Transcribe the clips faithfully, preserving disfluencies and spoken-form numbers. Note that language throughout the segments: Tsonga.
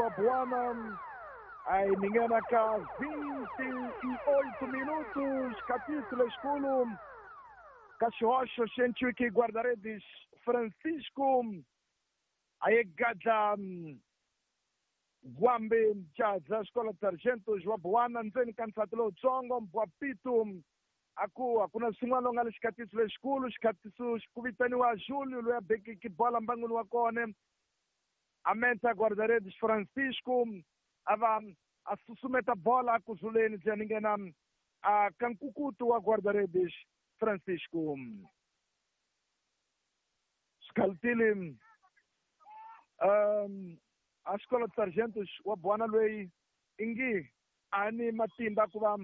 wa Buana. Aí ninguém cá vinte e oito minutos, capítulo escuro. Cachocha, Xenchuque, guarda-redes Francisco. Aí Gada Guambe, Jaza, Escola de Sargentos, wa Buana, Nzeni Kansatlo, Tsongo, Mbuapito. Aku akuna swin'wana nga le xikatiso lexikulu xikatiso ku vitaniwa Júlio loyi a bekeke bola mbangwini wa kona a menta guarda-redes Francisco a va a susumeta bola ku zuleni bya ninghena a ka nkukutu wa guarda-redes Francisco Scaltili um a Escola de Sargentos wa Buana loyi ingi a ni matimba ku va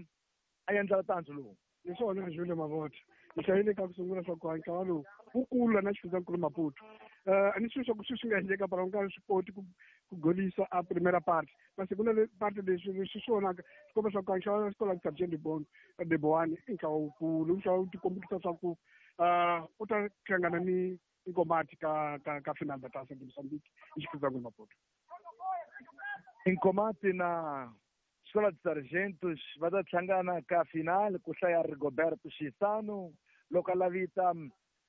a endla tandzu lowu. Hi swona Júlio Mavota hi hlayile ka ku sungula swa ku ntlawa lowu wu kula na xifundzankulu Maputo a ni swilo swa ku sweswi nga endleka para u nga swi koti ku ku golisa a primera parte masi ku na le parte leswi leswi swi vonaka swi komba swa ku ntlawa wa Escola de Sargento de Boane i ntlawa wukulu ntlawa wu tikombekisa swa ku u ta hlangana ni Nkomati ka ka ka final da Taça de Moçambique hi xifundzankulu Maputo. Nkomati na Escola de Sargentos va ta hlangana ka final ku hlaya Rigoberto Xisano loko a lavita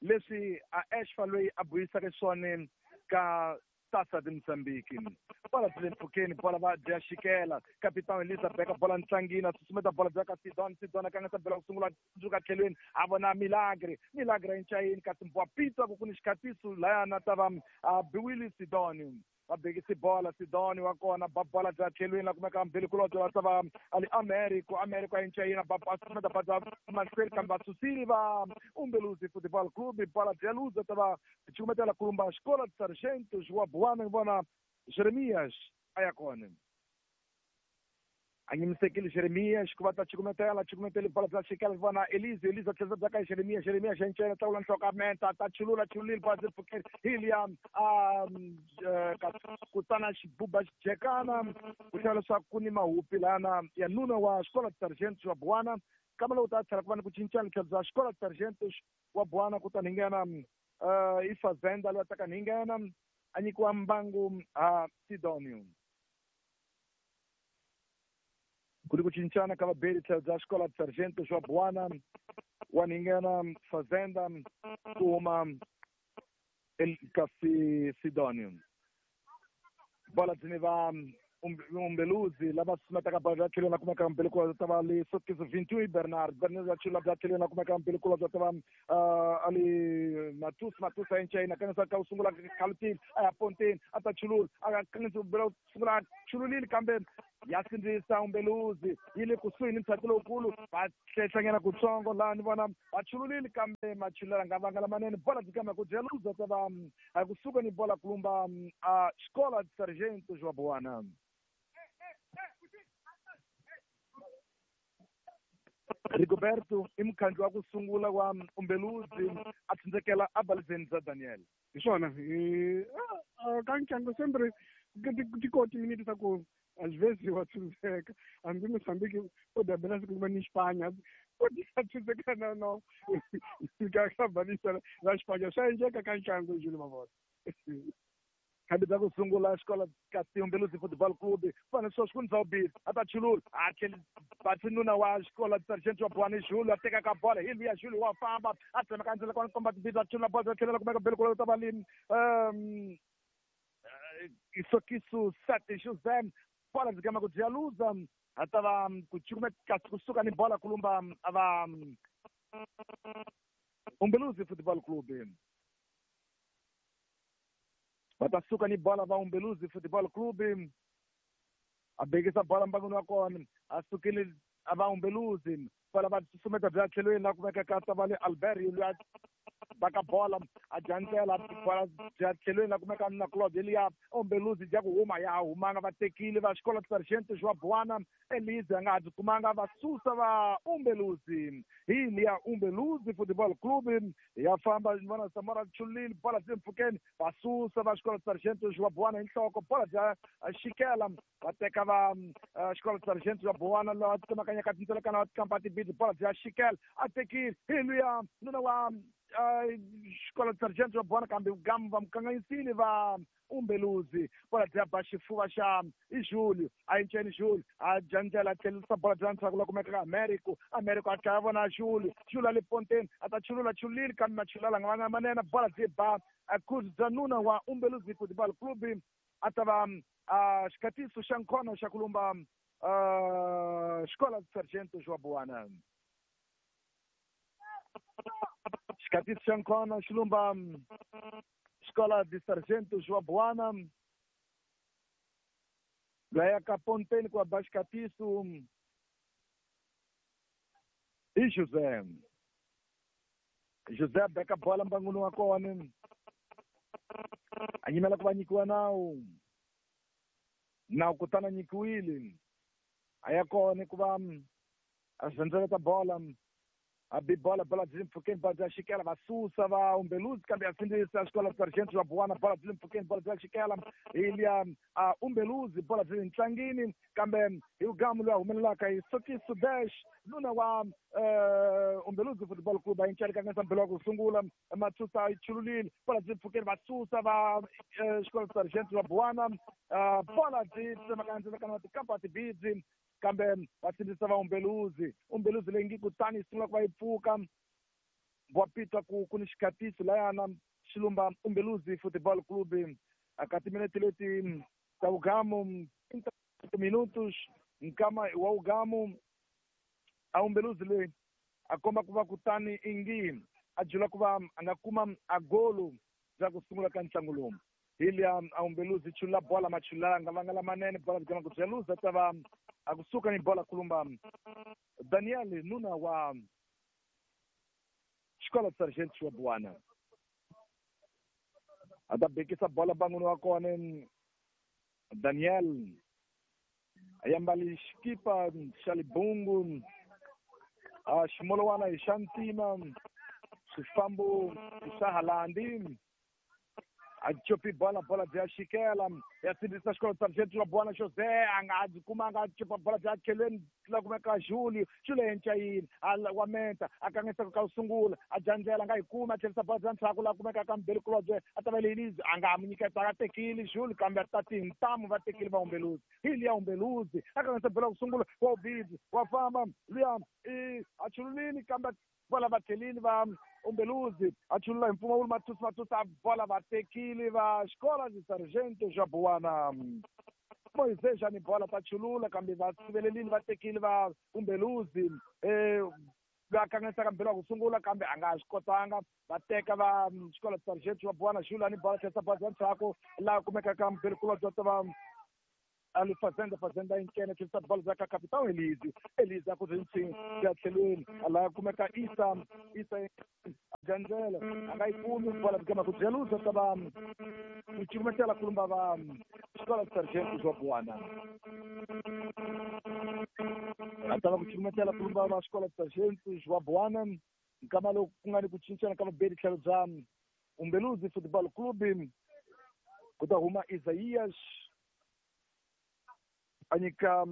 leswi a Ashfa loyi a buyisaka swona ka Taça de Moçambique. Bola byi le mpfhukeni, bola va dya xikela Capitão Elisa beka bola ntlangini a susumeta bola bya ka Sidon Sidon a kangisa bola ku sungula tsundzuka tlhelweni a vona Milagre Milagre a ncayini kasi Mbwapito a ku ku ni xikatiso layana ta va a biwile Sidon va bekisi bola Sidoni wa kona ba bola bya tlhelweni la kumeka mbili kulobye va ta va ali Americo Americo a incayina ba ba ba ba mahlweni kambe va susile va Umbeluzi Football Club bola bya luza ta va cukumetela kulumba Escola de Sargentos wa Buana vona Jeremias a ya kona a nyimisekile Jeremias ku va ta cukumetela cukumetele bola bya xikela vona Elise Elise tlhela bya ka Jeremias Jeremias encena tlawula nhloko a menta ta chulula chululile bola byi pfukeli Hiliam a kutana xibuba xijekana ku tlhela leswaku ku ni mahupi lana ya nuna wa Escola de Sargentos wa Buana kambe loko ta tlhela ku va ni ku cincana tlhelo bya Escola de Sargentos wa Buana kutani hi nghena i Fazenda loyi a taka ni nghena a nyikiwa mbangu a Sidonio. Ku ri ku cincana ka vabeli tlhelo bya Escola de Sargentos wa Buana wa ninghena Fazenda ku huma kasi Sidonio. Bola byi ni va Umbeluzi lava susumetaka bola bya tlhelweni la kumeka mbili ku ta va le Sokiso vinte e um Bernard Bernard ya chula bya tlhelweni la kumeka mbili ku ta va ali Matus Matus a enchayina kangisa ka u sungula khalutini a ya pontini a ta chulula a kangisa bela sungula chululile kambe ya sindzisa Umbeluzi yi le kusuhi ni ntshaku lowukulu va hlehlanyana kutsongo laha ni vona va chululile kambe machulela nga vanga lamanene bola byi kambe ku dya luza ta va kusuka ni bola kulumba a Escola de Sargentos wa Buana. Rigoberto i mukhandli wa ku sungula wa Umbeluzi a tsindzekela a balizeni bya Daniel. Hi swona hi ka ntlangu sempre ti koti minute ta ku às vezes wa tsindzeka hambi Moçambique o dabela siku va ni Espanha o tsindzeka na no ka ka balisa la Espanha swa endleka ka ntlangu Júlio Mavota. Hambi bya ku sungula Escola kasi Umbeluzi Football Club fana sweswi ku ni zawubisi a ta chulula a tlheli batsinuna wa Escola de Sargentos wa Buana Júlio a teka ka bola hi luya Júlio wa famba a tsemeka ndzela kona komba tibili a chulula bola tlhelela kumeka mbili ku ta va le um Isokiso sete José bola byi kama ku dya luza a ta va ku cukumeta kusuka ni bola kulumba a va Umbeluzi Football Club. Va ta suka ni bola va Umbeluzi Football Club a bekisa bola mbangwini wa kona a sukile a va Umbeluzi bola va susumeta bya tlhelweni la kumeka ka ta va le Albert loyi a baka bola a dya bola bya tlhelweni la kumeka na Claude Elia Umbeluzi dya ku huma ya humanga va tekile va Escola de Sargentos wa Buana Elise a nga ha byi kumanga va susa va Umbeluzi hi liya Umbeluzi Football Club ya famba ni vona Samora chulile bola byi mpfhukeni va susa va Escola de Sargentos wa Buana hi nhloko bola bya xikela va teka va Escola de Sargentos wa Buana laha tsemakanyaka tindzelekana wa tikampa tibili bola bya xikela a tekile hi luya nuna wa Xikola Sargento wa Buwana kambe gamu va mukanganyisile va Umbeluzi bola bya ba xifuva xa i Julio a yinceni Julio a dya ndlela a tlhelerisa bola bya ndzhaku la kumeka ka Americo Americo a dlaya vona Julio Julio a le ponteni a ta chulula chulile kambe machulula nga vanga manene bola byi ba a bya nuna wa Umbeluzi Football Club a ta va a xikatiso xa nkhono xa kulumba Xikola Sargento wa Buwana xikatiso xa nkhono xi lumba Escola de Sargento João Buana laya ka ponteni ku ba xikatiso i José José beka bola mbanguni wa kona a nyimela ku va nyikiwa nawu nawu kutani a nyikiwile a ya kona ku va a zendzeleta bola a bi bola bola byi le mpfhukeni bola bya xikela va susa va Umbeluzi kambe ya sindzisa Xikola Sargento wa Buwana bola byi le mpfhukeni bola bya xikela hi liya a Umbeluzi bola byi le ntlangini kambe hi ugamu loyi a humelelaka hi Sokiso Dash nuna wa Umbeluzi Football Club a yinceli kanganyisa mbelo wa ku sungula Matsusa yi chululile bola byi le mpfhukeni va susa va Xikola Sargento wa Buwana bola byi tsemakanya ndzilakano wa tikampa tibidzi kambe va sindzisa va Umbeluzi Umbeluzi leyi ngi kutani yi sungula ku va yi pfuka wa pitwa ku ku ni xikatiso layana xilumba Umbeluzi Football Club aka timinete leti ta ugamu minutos nkama wa ugamu a Umbeluzi leyi a komba ku va kutani ingi a jula ku va a nga kuma a golo bya ku sungula ka ntlangu lowu hi liya a Umbeluzi chulula bola machulula nga vanga lamanene bola byi ku bya ta va a kusuka ni bola kulumba Daniel nuna wa Xikola Sargento wa Buwana a ta bekisa bola banguni wa kona Daniel a yambali xikipa xa libungu a ximolwana hi xa ntima swifambo swa Halandi a chopi bola bola bya xikela ya sindzisa Xikola Sargento wa Buwana José a nga byi kumanga a chopa bola bya tlhelweni la kumeka Julio Julio yencayini a wa menta a kanganyisa ka ku sungula a dya ndlela a nga yi kumi a tlherisa bola bya ndzhaku la kumeka ka mbeli kulobye a ta va Elise a nga mu nyiketa a tekile Julio kambe a ta tintamu va tekile va Umbeluzi hi liya Umbeluzi a kanganyisa bola ku sungula wa ubidzi wa famba luya i a chululile kambe bola va tlhelile va Umbeluzi a chulula hi mpfumawulo Mathusi Mathusi a bola va tekile va Xikola de Sargento xa Buwana Moisés ni bola ta chulula kambe va sivelelile va tekile va Umbeluzi eh va kanganyisaka mbelo wa ku sungula kambe a nga swi kotanga va teka va Xikola Sargento wa Buwana Xula ni bola tlherisa bola bya ndzhaku laha kumekaka mbelo kulobye ta va ali Fazenda Fazenda inkene tlherisa bola bya ka Capitão Elise Elise a ku rintsini ya tlhelweni laha kumeka Isa Isa gandzela a nga yi kumi bola byi ku byaluza ta va ku cukumetela kulumba va Xikola Sargento wa Buwana a ta va ku cukumetela kulumba va Xikola Sargento wa Buwana nkama loku ku nga ni ku cincana ka vabeli tlhelo bya Umbeluzi Football Club ku ta huma Isaías a nyika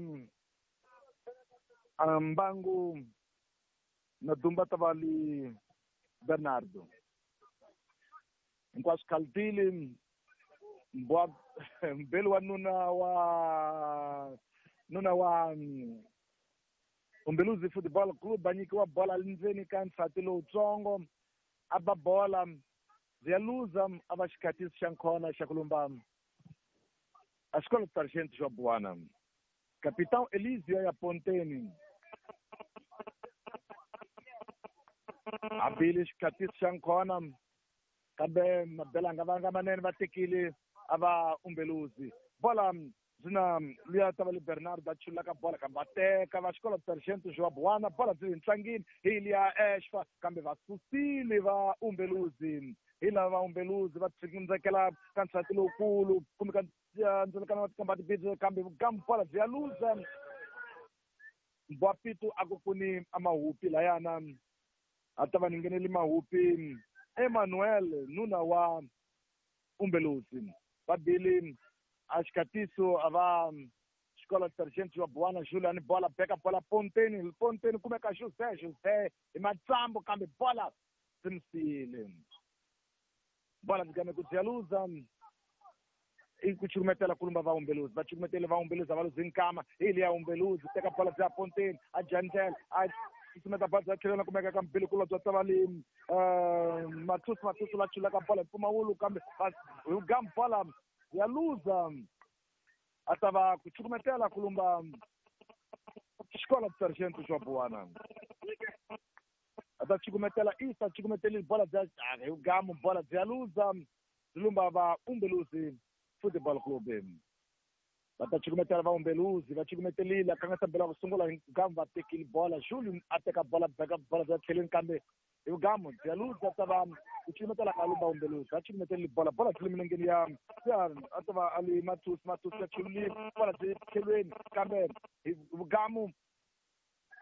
mbangu na dumba ta va li Bernardo hinkwaswo khaltili mbwa mbeli wa nuna wa nuna wa Umbeluzi Football Club a nyikiwa bola ndzeni ka nsati lowutsongo a ba bola bya luza a va xikatiso xa nkhona xa ku lumba a Xikola Sargento xa Buwana Capitão Elisio ya ponteni a bile xikatiso xa nkhona kambe mabela nga vanga manene va tekile a va Umbeluzi bola byi na luya ta va le Bernardo a chulaka bola kambe va teka va Xikola Sargento xa Buwana bola byi le ntlangini hi liya Ashfa kambe va susile va Umbeluzi hi lava va Umbeluzi va tshikela ka nsati lowukulu kumbe ka ndzilakano wa tikamba tibidzi kambe kambe bola byi ya luza Mbwapitu a ku kuni a mahupi layana a ta va ni ngheneli mahupi Emmanuel nuna wa Umbeluzi va bile a xikatiso a va Xikola Sargento wa Buwana Julian bola beka bola ponteni ponteni kumeka José José hi matsambu kambe bola byi mi siyile. Bola byi game ku bya luza i ku cukumetela kulumba va Umbeluzi, va cukumetele va Umbeluzi a va luzi nkama hi liya Umbeluzi teka bola bya ponteni a jandlela a susumeta bola bya tlhelo na kumeka ka mbili kulwa bya tavali Mathusi Mathusi la chulaka bola hi mpfumawulo kambe hi gamu bola ya luza a ta va ku cukumetela kulumba Escola de Sargento João Buana. A ta cukumetela Isa cukumetele bola bya hi gamu bola bya luza lumba va Umbeluzi Futebol Clube. Va ta cukumetela va Umbeluzi, va cukumetelile a kangasa bela ku sungula hi gamu va tekile bola Júlio a teka bola beka bola bya tlheleni kambe hi gamu bya luza ta va ku cukumetela ka lumba Umbeluzi a cukumetelile bola bola tlhele milengeni ya ya a ta va a li Mathusi Mathusi ya chulile bola byi tlhelweni kambe hi gamu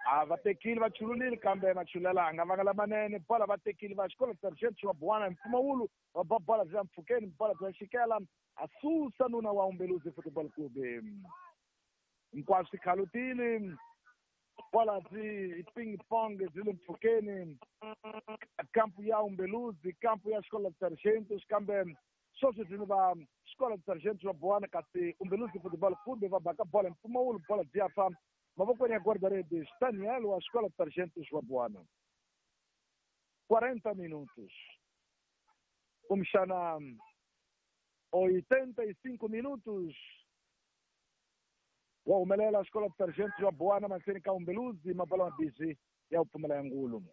a va tekile va chululile kambe machulela a nga vanga lamanene bola va tekile va Xikolo Sargento wa Buwana hi mpfumawulo va ba bola bya mpfhukeni bola bya xikela a susa nuna wa Umbeluzi Football Club. Hinkwaswo swi khalutile bola byi ping pong byi le mpfhukeni kampu ya Umbeluzi kampu ya Xikolo Sargento kambe sweswi byi va Xikolo Sargento wa Buwana kasi Umbeluzi Football Club va baka bola hi mpfumawulo bola byi ya fa mavokweni ya guarda-redes Daniel wa Escola de Sargentos wa Buwana. quarenta minutos kumbexana oitenta e cinco minutos wa humelela Escola de Sargentos wa Buwana mahlweni ka Umbeluzi mabola mabisi ya ku pfumela ya ngulu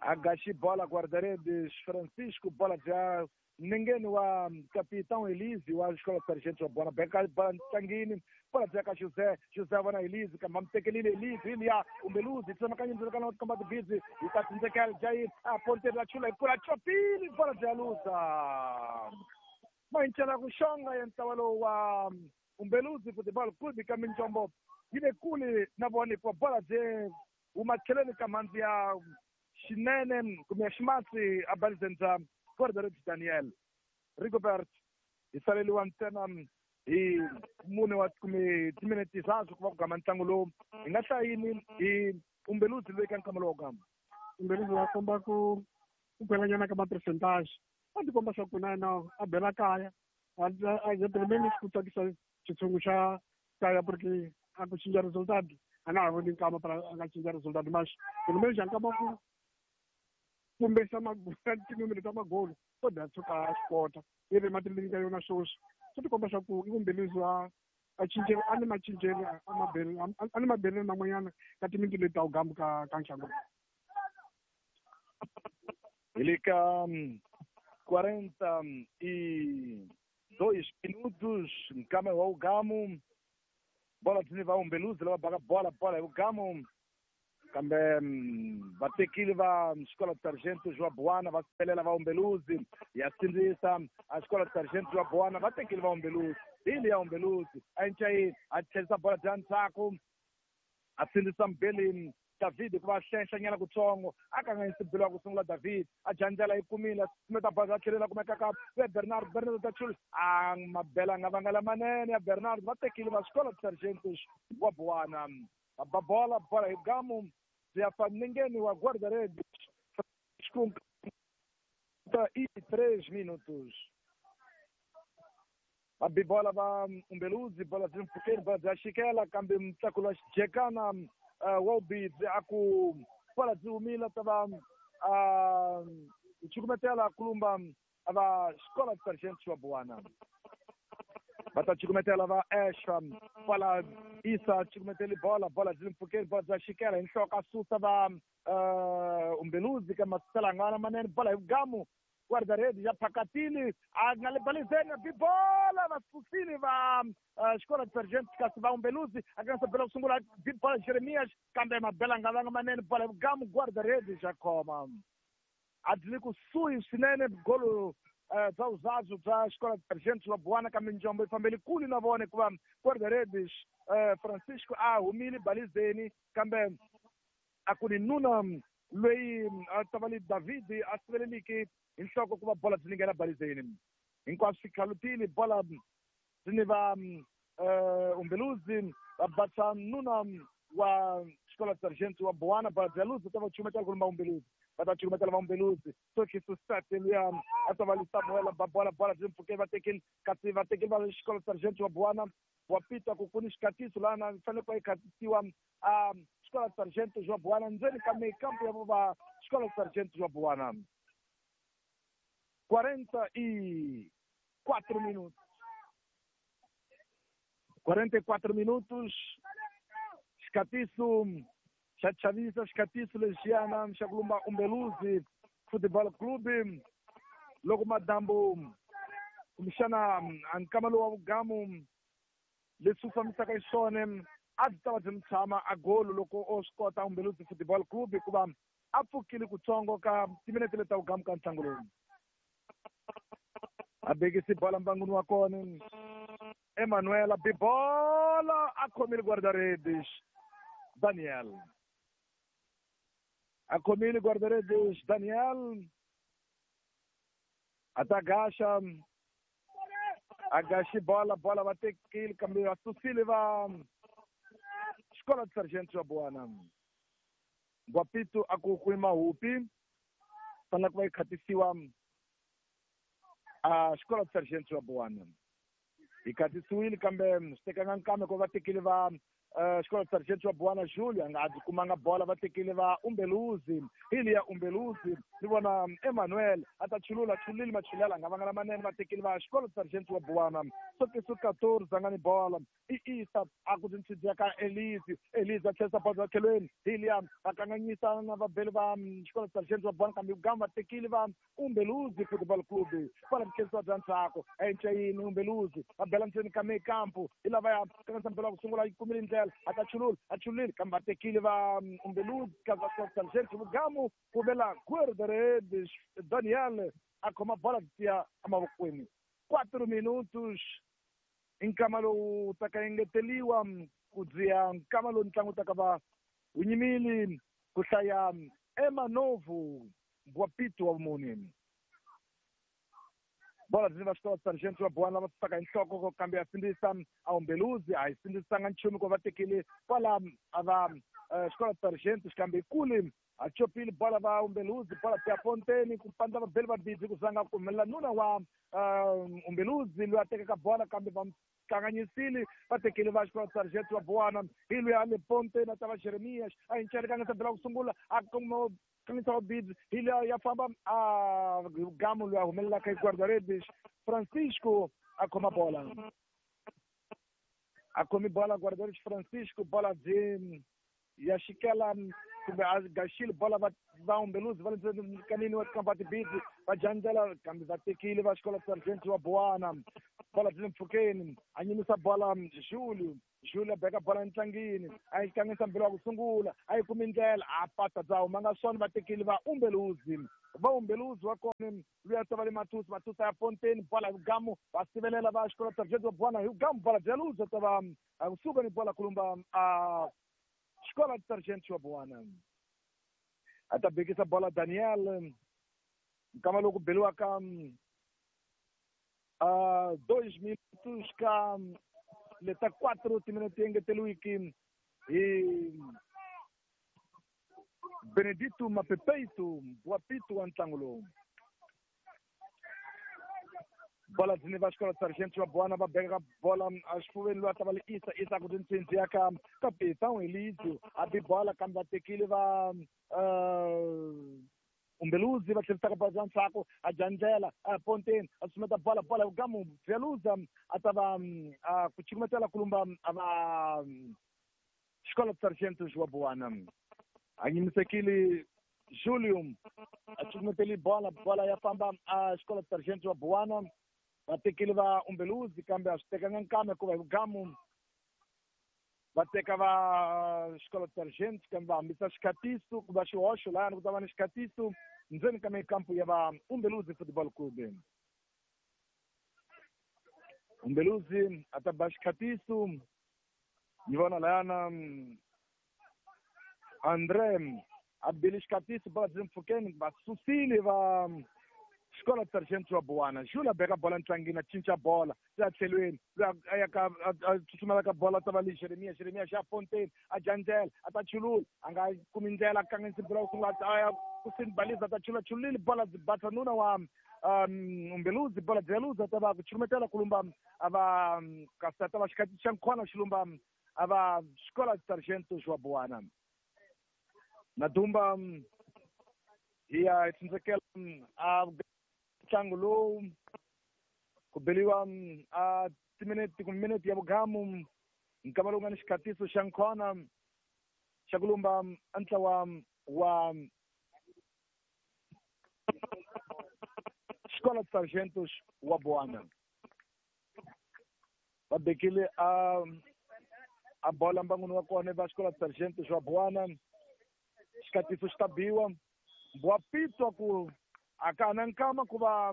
a gaxi bola guarda-redes Francisco bola bya nengeni wa Capitão Elise wa Escola de Sargento wa Buwana beka bola ntlangini bola bya ka José José vona Elise kambe mutekelile Elise liya Umbeluzi tsemakanya ndzilakana wa tikomba tibidzi yi ta tsindzekela Jair a ponteni la chula hi kula chopile bola bya luza mayincela ku xonga ya ntlawa lowu wa Umbeluzi Football Club ka minjombo yi ve kule na vona hikuva bola bye huma tlhelweni ka mhandzi ya xinene kumbe ya ximatsi a balizeni bya guarda-redes Daniel Rigobert hi saleliwa ntsena hi mune wa kumbe timinete tinharhu ku va ku gama ntlangu lowu hi nga hlayini hi Umbeluzi loyi ka nkama lowu gama Umbeluzi wa komba ku ku gwelanyana ka ma-percentage a ti komba swa ku na yena a bela kaya a heteleleni ku tsakisa xitshungu xa kaya porque a ku cinca resultado a nga ha voni nkama para a nga cinca resultado mas pelo menos nkama ku kumbesa tinumero ta magolo ko da tshuka a swi kota yi ri matilini ka yona sweswi swi ti komba swa ku i Umbeluzi a a cince a ni macincelo a mabelelo a ni mabelelo man'wanyana ka timinti leti ta wugambu ka ka nxango. Hi le ka quarenta e dois minutos nkama wa ugamu bola byi va Umbeluzi lava baka bola bola hi ugamu kambe va tekile va Escola de Sargento wa Buwana va pelela va Umbeluzi ya sindzisa a Escola de Sargento wa Buwana va tekile va Umbeluzi hi liya Umbeluzi a encayini a tlherisa bola bya ndzhaku a sindzisa mbeleni David ku va hlenhlanyana kutsongo a kanganyisi belo wa ku sungula David a jandzela yi kumile sumeta bola a tlhelela kumeka ka ya Bernard Bernard ta chula a mabela a nga vanga lamanene ya Bernard va tekile va Escola de Sargentos wa Buwana va ba bola bola hi gamu byi ya fa nengeni wa guarda-redes e três minutos va bi bola va Umbeluzi bola byi mpfhukeni bola bya xikela kambe mutlakulo wa xijekana Wobidzi a ku bola byi humile ta va cukumetela kulumba va Escola de Sargentos wa Buwana va ta cukumetela va Esha bola Isa cukumeteli bola bola byi le mpfhukeni bola bya xikela hi nhloko a susa va Umbeluzi ka masalangana manene bola hi vugamu guarda-redes ya phakatile a nga le balizeni bi bola va susile va Escola de Sargento kasi va Umbeluzi a nga bela ku sungula bi bola Jeremias kambe mabela nga vanga manene bola hi vugamu guarda-redes ya khoma a byi le kusuhi swinene golo bya vuzazu bya Escola de Sargento wa Buwana kambe njombo yi fambele kule na vona hikuva guarda-redes Francisco a humile balizeni kambe a ku ni nuna loyi a ta va li David a siveleliki hi nhloko ku va bola byi nghena balizeni hinkwaswo swi khalutile bola byi ni va Umbeluzi va basa nuna wa Escola de Sargento wa Buwana bola bya luzi ta va chumetela kulumba Umbeluzi Va ta cukumetela va Umbeluzi sokiso state luya a ta va li Samuel ba bola bola byi mpfhukeni va tekile kasi va tekile va xikolo Sargent wa Buwana wa Peter ku ku ni xikatiso lana fanele ku va yi khatisiwa a xikolo Sargent wa Buwana ndzeni ka mekampo ya va xikolo Sargent wa Buwana. Quarenta e quatro minutos. Quarenta e quatro minutos. Xikatiso xa chavisa xikatiso lexiyana xa ku lumba Umbeluzi Football Club loko madambu kumbexana a nkama lowu wa vugamu leswi wu fambisaka xiswona a byi ta va byi mi tshama a golo loko o swi kota Umbeluzi Football Club hikuva a pfukile kutsongo ka timinete leti ta vugamu ka ntlangu lowu. A bekisi bola mbanguni wa kona Emanuela bibola a khomile guarda-redes Daniel. A khomile guarda-redes Daniel. A ta gaxa a gaxi bola bola va tekile kambe va susile va xikolo de Sargent wa Buwana. Guapito a ku ku mahupi fanele ku va yi khatisiwa a xikolo de Sargent wa Buwana. Yi khatisiwile kambe swi tekanga nkambe ku va tekile va xikolo Sargent wa Buwana Julio a nga a byi kumanga bola va tekile va Umbeluzi hi liya Umbeluzi ni vona Emmanuel a ta chulula chulile machulela a nga vanga lamanene va tekile va xikolo Sargent wa Buwana sokiso quatorze a nga ni bola i Isa a ku tintshidziya ka Elise Elise a tlherisa bola tlhelweni hi liya va kanganyisa na vabeli va xikolo Sargent wa Buwana kambe vugamu va tekile va Umbeluzi Football Club bola byi bya ndzhaku a enca yini Umbeluzi va bela ndzeni ka mekampo hi lava ya kanganyisa mpela wa ku sungula yi kumile ndlela a ta chulula a chulile kambe va tekile va Umbeluzi ka va Sargent vugamu ku vela guarda-redes Daniel a khoma bola tiya emavokweni. Quatro minutos nkama lowu taka engeteliwa ku dziya nkama lowu ntlangu taka va wu nyimile ku hlaya Emanovu Guapito wa vumune. Bola byi va xikolo Sargent wa Buwana lava susaka hi nhloko kambe ya sindzisa a Umbeluzi a yi sindzisanga nchumu ku va tekile kwala a va xikolo Sargent xikambe kule a chopile bola va Umbeluzi bola ya ponteni ku pandza vabeli va bidzi ku zanga ku humelela nuna wa Umbeluzi loyi a tekaka bola kambe va kanganyisile va tekile va xikolo Sargent wa Buwana hi loyi a le ponteni a ta va Jeremias a hinchelekanga bela ku sungula a kuma kanganyisa wa bidzi hi loyi ya famba a gamu loyi a humelelaka hi guarda-redes Francisco a khoma bola a khomi bola guarda-redes Francisco bola byi ya xikela kumbe a gaxile bola va va Umbeluzi va le kanini wa tikampa tibidzi va jandzela kambe va tekile va xikolo Sargent wa Buwana bola byi le mpfhukeni a nyimisa bola Julio Julio a beka bola entlangini a yi kanganyisa mbilo wa ku sungula a yi kumi ndlela a pata bya humanga swona va tekile va Umbeluzi va Umbeluzi wa kona loyi a ta va le Matusi Matusi ya ponteni bola hi vugamu va sivelela va xikolo Sargent wa Buwana hi vugamu bola bya luza ta va kusuka ni bola kulumba a xikolo Sargent wa Buwana. A ta bekisa bola Daniel nkama loku beliwaka a dois minutos ka leta quatro timinete engeteliwiki hi Benedito Mapepeito Guapito wa ntlangu lowu. Bola dzini va xikolo Sargent wa Buwana va beka bola a xifuveni loyi a ta va le Isa Isa ku tintsindzi ya ka Capitão Elizio a bi bola kambe va tekile va Umbeluzi va tlherisaka bola bya ndzhaku a jandzela a ponteni a sumeta bola bola gamu Veluza a ta va ku cukumetela kulumba a va xikolo Sargent wa Buwana a nyimisekile Julio a cukumeteli bola bola ya famba a xikolo Sargent wa Buwana va tekile va Umbeluzi kambe a swi tekanga nkama hikuva hi vugamu va teka va xikolo Sargent kambe va hambisa xikhatiso ku va xihoxo lahayani ku ta va ni xikhatiso ndzeni ka mikampo ya va Umbeluzi Football Club. Umbeluzi a ta ba xikhatiso ni vona lahayana André a bile xikhatiso bola byi mpfhukeni va susile va Xikola Sargento wa Buwana Jula beka bola ntlangini a cinca bola se a tlhelweni loyi a ya ka a tsutsumela ka bola ta va le Jeremia Jeremia xa Fontaine a dya ndlela a ta chulula a nga kumi ndlela a kanganyisa bola ku sungula a ya ku sinbalisa ta chula chulile bola bata nuna wa um Umbeluzi bola dzeluza ta va ku chulumetela kulumba a va kasi ta va xikati xa nkhona xilumba a va Xikola Sargento wa Buwana na dumba hi ya hi tsindzekela a ntlangu lowu ku beliwa a timinete kumbe minete ya vugamu nkama lowu nga ni xikatiso xa nkhona xa ku lumba a ntlawa wa Xikola Sargentos wa Buwana va bekile a a bola mbanguni wa kona va Xikola Sargentos wa Buwana xikatiso xi ta biwa bwa pitwa ku a ka na nkama ku va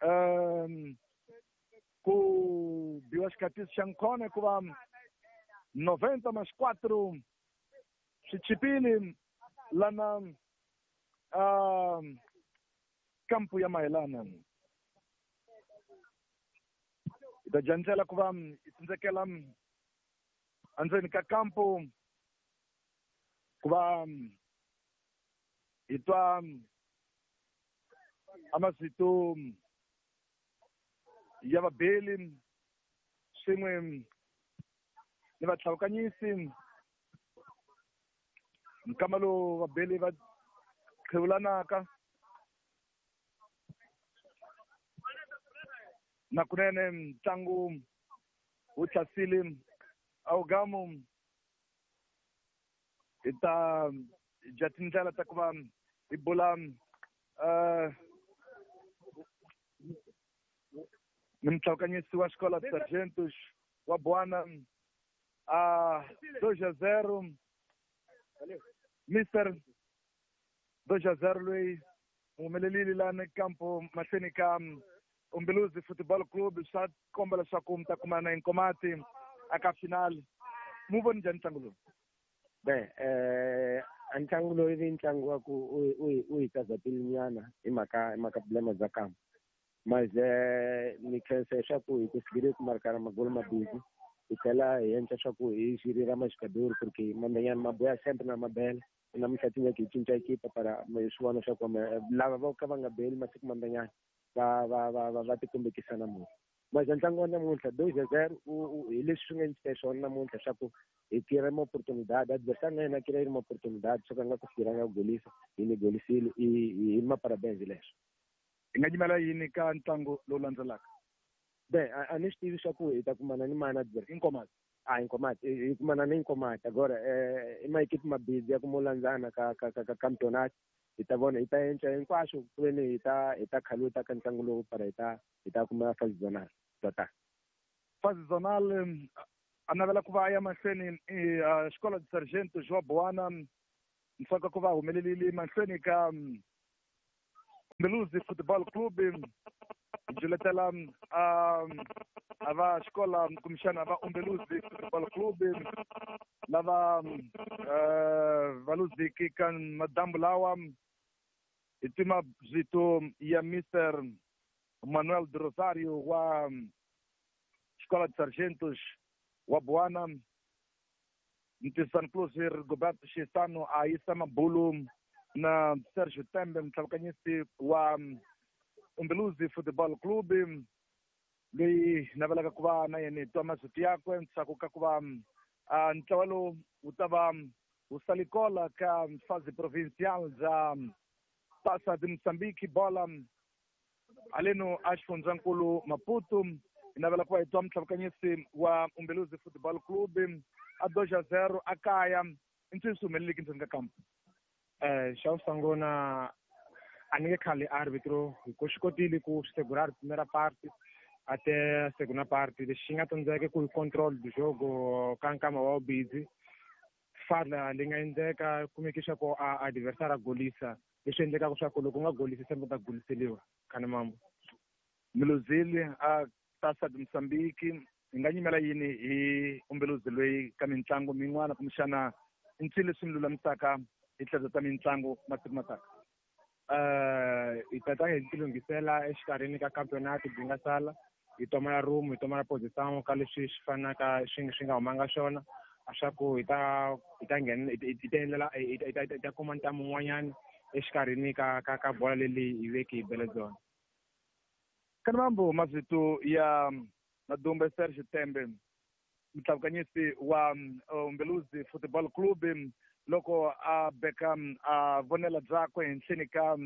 um ku biwa xikatiso xa nkhona hikuva noventa mais quatro swi chipile lana um kampu ya Mayelana hi ta dya ndlela ku va hi tsindzekela endzeni ka kampu ku va hi twa a mazito ya vabeli swin'we ni vatlhavukanyisi nkama lowu vabeli va qhewulanaka na kunene ntlangu wu thlasile awugamu hi ta dya tindlela ta ku va hi bula uh, ni mutlhavukanyisi wa Xikola Sargentos wa Buwana a dois a zero Mister dois a zero loyi humelelile lani kampo mahlweni ka Umbeluzi Football Club swa komba leswaku mi ta kumana Nkomati aka final mu voni njhani ntlangu lowu? Be eh a ntlangu lowu i ntlangu wa ku u u hi tazatile nyana hi mhaka hi mhaka problema bya kampo mas ni khensa leswaku hi kusigile ku markana magolo mabili hi tlhela hi endla swa ku hi xirira maxikadori porque mandanyana maboya sempre na mabele namuntlha tingeke hi cinca ekipa para hi swi vona swa ku lava vo ka va nga beli masiku mandanyana va va va va va tikombekisa namuntlha mas ntlangu wa namuntlha dois a zero hi leswi swi nga endlisa swona namuntlha swa ku hi tira ma oportunidade adversário na yena kira ma oportunidade swo ka nga ku fikiranga ku golisa hi ni golisile hi ma parabéns leswo. Hi nga nyimela yini ka ntlangu lowu landzelaka? Be a ni swi tivi swa ku hi ta kumana ni mani adversário Inkomati a Inkomati hi kumana ni Inkomati agora i maekipi mabidi ya ku mo landzana ka ka ka ka campeonato hi ta vona hi ta endla hinkwaswo ku ve ni hi ta hi ta khaluta ka ntlangu lowu para hi ta hi ta kuma fase zonal tota fase zonal a navela ku va a ya mahlweni Xikola de Sargento João Buwana ntsaka ku va humelelile mahlweni ka Umbeluzi Football Club juletela a va xikola kumbexana va Umbeluzi Football Club lava va luziki ka madambu lawa hi tima vito ya Mister Manuel de Rosario wa Xikola de Sargentos wa Buwana Ntisan Cruz Roberto Xisano a yisa mabulu na Sergio Tembe mutlhavukanyisi wa Umbeluzi Football Club loyi navelaka ku va na yena hi twa masiku yakwe ntshaku ka ku va ntlawa lowu wu ta va wu salikola ka fase provincial bya Taça de Moçambique bola haleno a xifundzankulu Maputo hi navela ku va hi twa mutlhavukanyisi wa Umbeluzi Football Club a dois a zero a kaya i ncini swi humeleleki ndzeni ka kampo? Eh xa ku sungula a ni nge khali arbitro hi ku swi kotile ku segurar primeira parte até a segunda parte lexi nga tsandzeka ku hi control do jogo ka nkama wa busy fala leyi nga endleka kumeke swa ku a adversário a golisa leswi endlekaka swa ku loko u nga golisi sembe u ta goliseliwa khani mambo Miluzili a Taça de Moçambique hi nga nyimela yini hi Umbeluzi loyi ka mitlangu min'wana kumbexana i ncini leswi mi lulamisaka hi tlhelo ta mitlangu masiku mataka? Eh hi ta hi tilunghisela exikarhini ka campeonato byi nga sala hi tomela room hi tomela position ka leswi swi fanaka swi swi nga humanga swona swa ku hi ta hi ta nghena hi ta endlela hi ta hi ta kuma ntamu wun'wanyana exikarhini ka ka ka bola leyi hi veke hi bele byona. Kanambo mazito ya Madumbe Serge Tembe mutlavukanyisi wa Umbeluzi Football Club loko a beka a vonela byakwe henhleni ka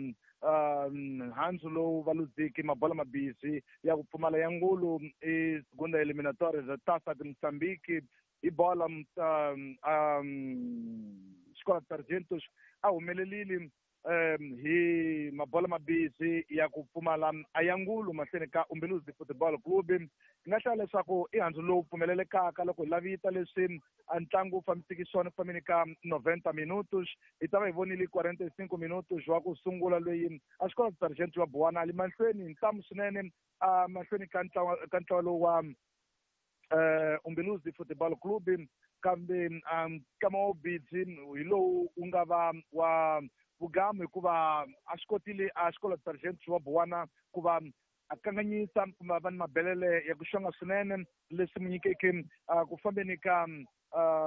handzu lowu va luziki mabola mabisi ya ku pfumala ya ngulu i segunda eliminatória za Taça de Moçambique hi bola Escola de Sargentos a humelelile hi mabola mabisi ya ku pfumala a ya ngulu mahlweni ka Umbeluzi Football Club. Hi nga hlaya leswaku i handzu lowu pfumelelekaka loko hi lavita leswi a ntlangu wu fambisiki swona ku fambeni ka noventa minutos hi ta va hi vonile quarenta e cinco minutos wa ku sungula loyi a Escola de Sargento wa Buwana a li mahlweni hi ntamu swinene a mahlweni ka ntlawa ka ntlawa lowu wa Umbeluzi Football Club kambe nkama wa bidzi hi lowu wu nga va wa vugamu hikuva a swi kotile a Escola de Sargento wa Buwana ku va a kanganyisa kumbe va ni mabelele ya ku xonga swinene leswi mu nyikeke ku fambeni ka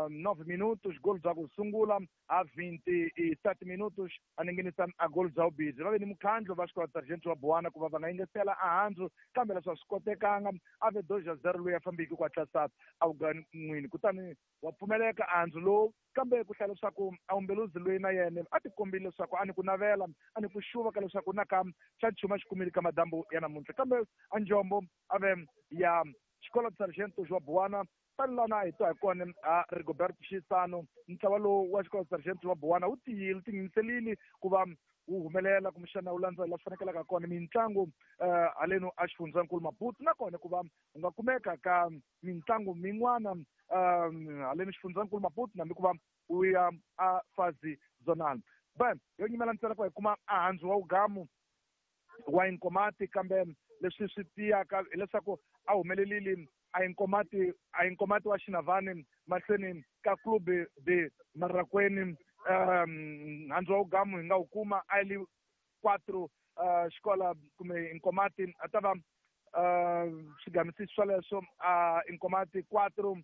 nove minutos gol bya ku sungula a vinte e sete minutos a ninginisa a gol bya vubizi. Va ve ni mukhandlu va Escola de Sargento wa Buwana ku va va nga yingisela a handzu kambe leswi a swi kotekanga a ve dois a zero loyi a fambiki ku hatlisa a wugan'wini kutani wa pfumeleka a handzu lowu kambe ku hlaya leswaku a Umbeluzi loyi na yena a ti kombile leswaku a ni ku navela a ni ku xuva ka leswaku na ka xa nchumu a xi kumile ka madambu ya namuntlha kambe a njombo a ve ya Escola de Sargento wa Buwana tani lana hi twa hi kona a Rigoberto Xisano ntlawa lowu wa Escola de Sargento wa Buwana wu tiyile wu tinghenyiserile ku va wu humelela kumbexana wu landza laha swi fanekelaka kona mitlangu haleno a xifundzankulu Maputo nakona ku va u nga kumeka ka mitlangu min'wana haleno xifundzankulu Maputo nambi ku va u ya a fazi zonal ben yo nyimela ntsena ku hi kuma a handzu wa wugamu wa Inkomati kambe leswi swi tiyaka hileswaku a humelelile a Inkomati a Inkomati wa Xinavani mahlweni ka Clube de Marraqueni um handzu wa wugamu hi nga wu kuma a li quatro xikola kumbe Inkomati a ta va swigamisi swoleswo a Inkomati quatro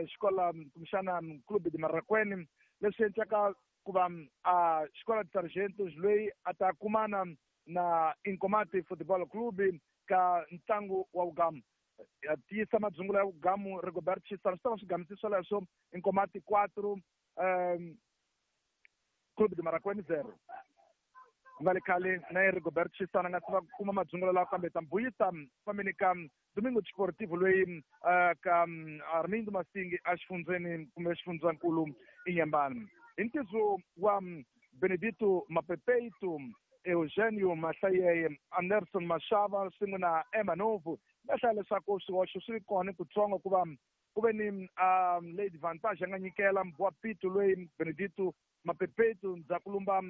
xikola kumbexana Clube de Marraqueni leswi endlaka ku va a Escola de Sargentos loyi a ta kumana na Inkomati Football Club ka ntlangu wa wugamu ya tiyisa madzungulo ya wugamu Rigoberto Xisano swi ta va swigamisi swoleswo Inkomati quatro um Clube de Marraqueni zero ku nga le khale na ye Rigoberto Xisano a nga se va kuma madzungulo lawa kambe ta mbuyisa fambeni ka Domingo Desportivo loyi ka Armindo Masingi a xifundzeni kumbe xifundzankulu Inhambane hi ntizo wa Benedito Mapepeito Eugenio Mahlayeye Anderson Mashava swin'we na Emma Novo va hlaya leswaku swihoxo swi kona kutsongo ku va ku ve ni lady Vantage a nga nyikela wa Pito loyi Benedito Mapepeto ndzhaku lumba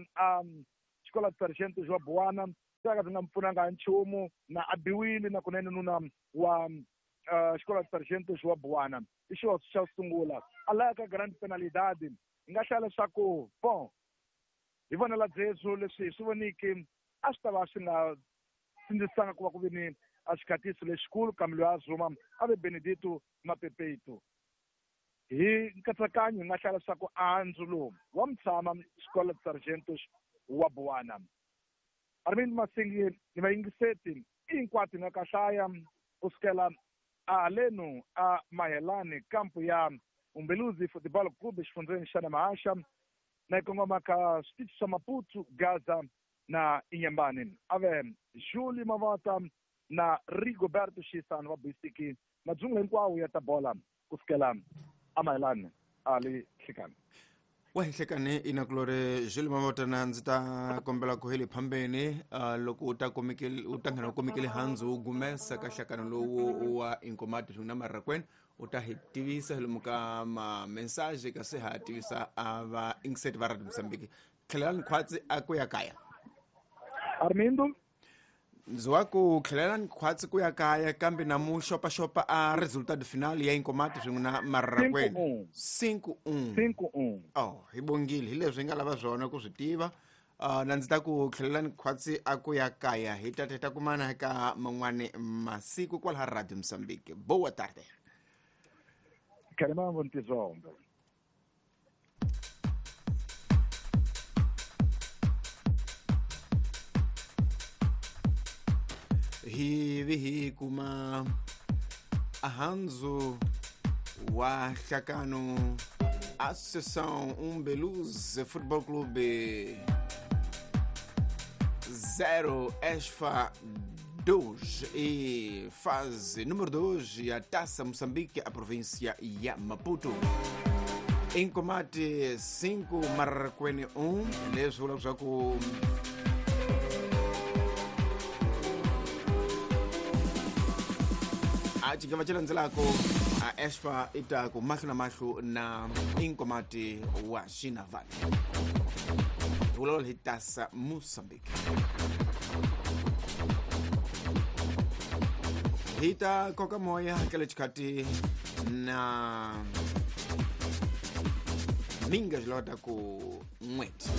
Escola de Sargento wa Buwana swi ka swi nga mi pfunanga nchumu na a biwile na kunene nuna wa Escola de Sargento wa Buwana i xihoxo xa ku sungula a laya ka grande penalidade hi nga hlaya leswaku bon hi vonela byezu leswi hi swi voniki a swi ta va swi nga sindzisanga ku va ku ve ni a xikhatiso lexikulu kambe loyi a zuma a ve Benedito Mapepeto hi nkatsakanyo hi nga hlaya leswaku andzu lowu wa mutshama Escola de Sargentos wa Buwana. Armindo Masingi ni vayingiseti hinkwato hi nga ka hlaya ku sukela a haleno a Mahelani kampu ya Umbeluzi Football Club exifundzeni xa Namahasha na yi kongoma ka switichi swa Maputo, Gaza na Inhambane. A ve Julie Mavata na Rigoberto Xisano va buyisiki madzungulo hinkwawo ya ta bola ku sukela a Mahelani a le Hlekani. Wa Hlekani inakulore Julie Mavata na ndzi ta kombela ku heli phambeni loko u ta komekele u ta nghena u komekele handzu wu gumesa ka hlakano lowu wa Inkomati na Marraqueni u ta hi tivisa hi lomu ka ma message kasi ha tivisa a va ingiseti va Radio Mozambique tlhelelani khwatsi a ku ya kaya Armindo ndzi wa ku tlhelelani khwatsi ku ya kaya kambe na mu xopaxopa a resultado final ya Inkomati swin'we na Marraqueni cinco um cinco um oh hi bongile hi leswi hi nga lava swona ku swi tiva Uh, na ndzi ta ku tlhelelani khwatsi a ku ya kaya hi ta ta kumana ka man'wani masiku kwalaha Radio Mozambique. Boa tarde. Karimambo ntizombe. Hi vi hi kuma ahanzu wa hlakano Associação Umbeluz Futebol Clube zero Esfa dois e fase número dois a Taça Moçambique, a província ya Maputo. Em combate cinco Marraquene um, leswi vulaka swa ku a xigava xi landzelako a Esfa i ta ku mahlo na mahlo na Inkomati wa Xinavane. Hi vulavula hi Taça Moçambique. Hi ta koka moya ka le xikhati na minga xilota ku n'weti.